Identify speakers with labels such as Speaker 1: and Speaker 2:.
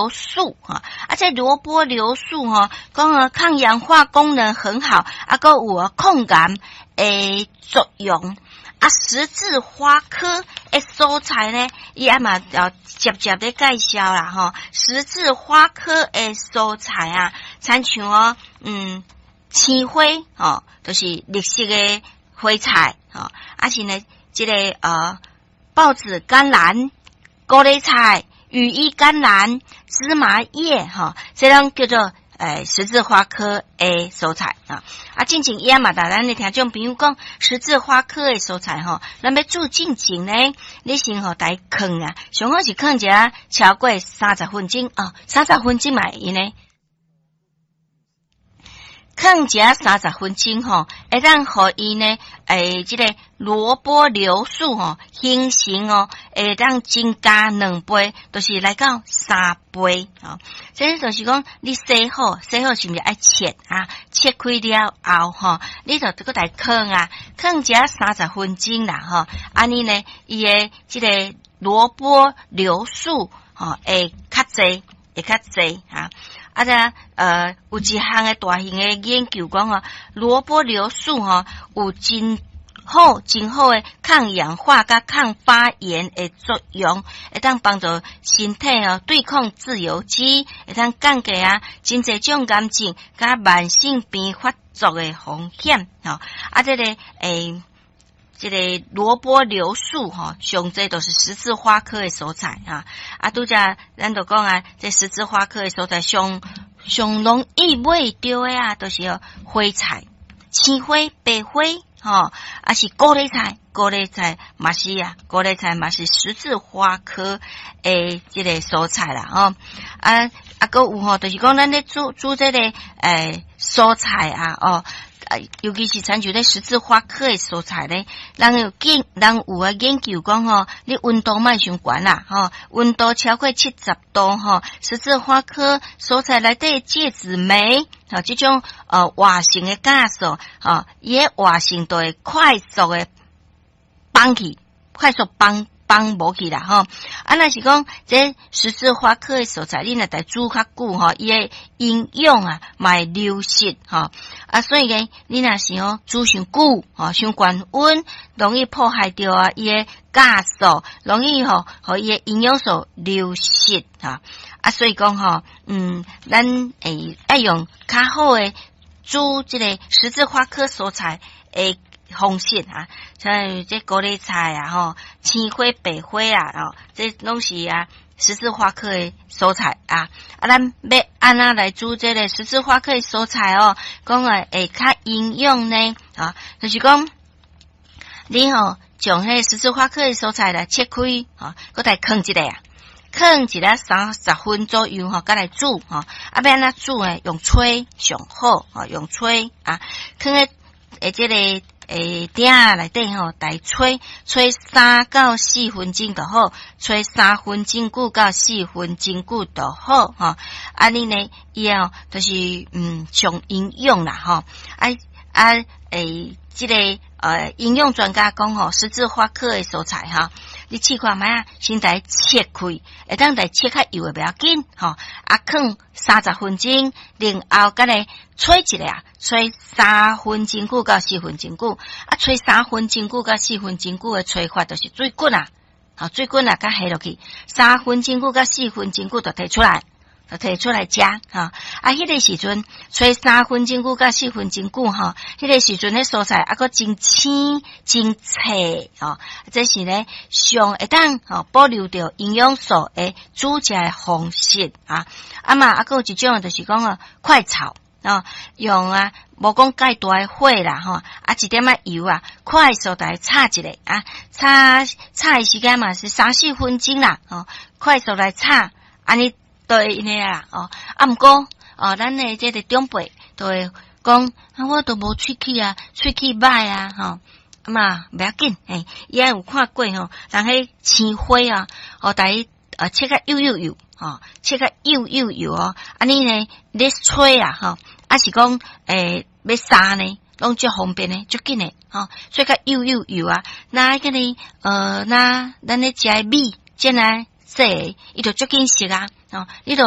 Speaker 1: 素哈，啊，這蘿蔔硫素吼，講啊抗氧化功能很好，啊，閣有抗癌的作用。啊，十字花科的蔬菜呢，伊也嘛要接接咧介紹啦吼。十字花科的蔬菜啊，親像哦，青花吼，就是綠色的花菜吼，啊是呢，這個抱子甘藍、高麗菜、羽衣甘藍、芝麻葉吼，這攏叫做十字花科的蔬菜啊。啊，進前伊也嘛，共咱的聽眾朋友講，十字花科的蔬菜吼，咱欲煮進前呢，你先予共伊囥啊，上好是囥一下超過三十分鐘哦，三十分鐘嘛會用呢。囥一下三十分鐘吼，會當予伊呢，這個蘿蔔硫素吼形成哦，會當增加2倍，就是來到3倍吼。這就是講，你洗好，洗好是毋是愛切啊？切開了後吼，你就閣共伊囥啊，囥一下三十分鐘啦吼。按呢呢，伊的這個蘿蔔硫素吼會較濟，會較濟哈。啊，這有一項的大型的研究講吼，蘿蔔硫素吼有真好、真好的抗氧化佮抗發炎的作用，會當幫助身體哦對抗自由基，會當降低啊真濟種癌症佮慢性病發作的風險吼。啊，這個蘿蔔硫素吼，上濟都是十字花科的蔬菜啊。啊，拄才咱就講啊，這十字花科的蔬菜上上容易買著的啊，就是花菜、青花、白花，吼，啊是高麗菜，高麗菜嘛是啊，高麗菜嘛是十字花科的這個蔬菜啦，吼。啊啊，閣有吼，就是講咱咧煮煮這個蔬菜啊，哦。啊，尤其是親像咧十字花科的蔬菜咧，人有啊研究講吼，你溫度莫傷懸啦，吼，溫度超過70度吼，十字花科蔬菜內底芥子酶，吼，這種活性的酵素，吼，伊的活性就會快速的崩去，快速崩崩無去啦，吼。啊，若是講這十字花科的蔬菜，你若共煮較久吼，伊的營養啊嘛會流失吼。啊，所以呢，你若是吼煮傷久，吼傷懸溫，容易破壞著啊伊的酵素，容易吼予伊的營養素流失哈。啊，所以講吼，咱會愛用較好的煮這個十字花科蔬菜的方式啊，像這高麗菜啊，吼，青花、白花啊，吼，這攏是啊十字花科的蔬菜啊。啊，咱欲按怎來煮這個十字花科的蔬菜哦？講啊會較營養呢？啊，就是講你吼將彼十字花科的蔬菜來切開，吼，閣共囥一下啊，囥一下三十分左右吼，閣來煮吼。啊，欲按怎煮呢？用炊上好，吼，用炊啊，囥咧這個鼎仔內底吼，共炊炊3到4分鐘就好，炊三分鐘久到四分鐘久就好吼。按呢呢，伊哦，就是上營養啦吼。啊啊這個營養專家講吼，十字花科的蔬菜哈，你試看覓啊，先共切開，會當共切較幼的袂要緊吼。啊，囥三十分鐘，然後閣來炊一下，炊三分鐘久到四分鐘久。啊，炊三分鐘久到四分鐘久的炊法，就是水滾啊，吼，水滾啊，閣下落去，三分鐘久到四分鐘久就提出來。就提出來食吼，啊，彼個時陣炊三分鐘久到四分鐘久吼，彼個時陣彼蔬菜猶閣真青真脆吼，這是咧上會當吼保留著營養素的煮食的方式啊。啊嘛，猶閣有一種就是講哦，快炒哦，用啊無講蓋大的火啦吼，啊一點仔油啊，快速來炒一下啊，炒炒的時間嘛是三四分鐘啦，吼，快速來炒，按呢。都會用的啦，哦，啊，毋過，哦，咱的這個長輩都會講，啊，我都無喙齒啊，喙齒䆀啊，吼，啊嘛袂要緊，嘿，伊也有看過吼，人彼青花啊，哦，共伊切較幼幼幼，吼，切較幼幼幼哦，按呢呢，咧炊啊，吼，啊是講，欲煠呢，攏足方便的，足緊的，吼，切較幼幼幼啊，那個呢，那咱咧食的米，煎來。細个，伊就足緊熟啊，哦，你著欲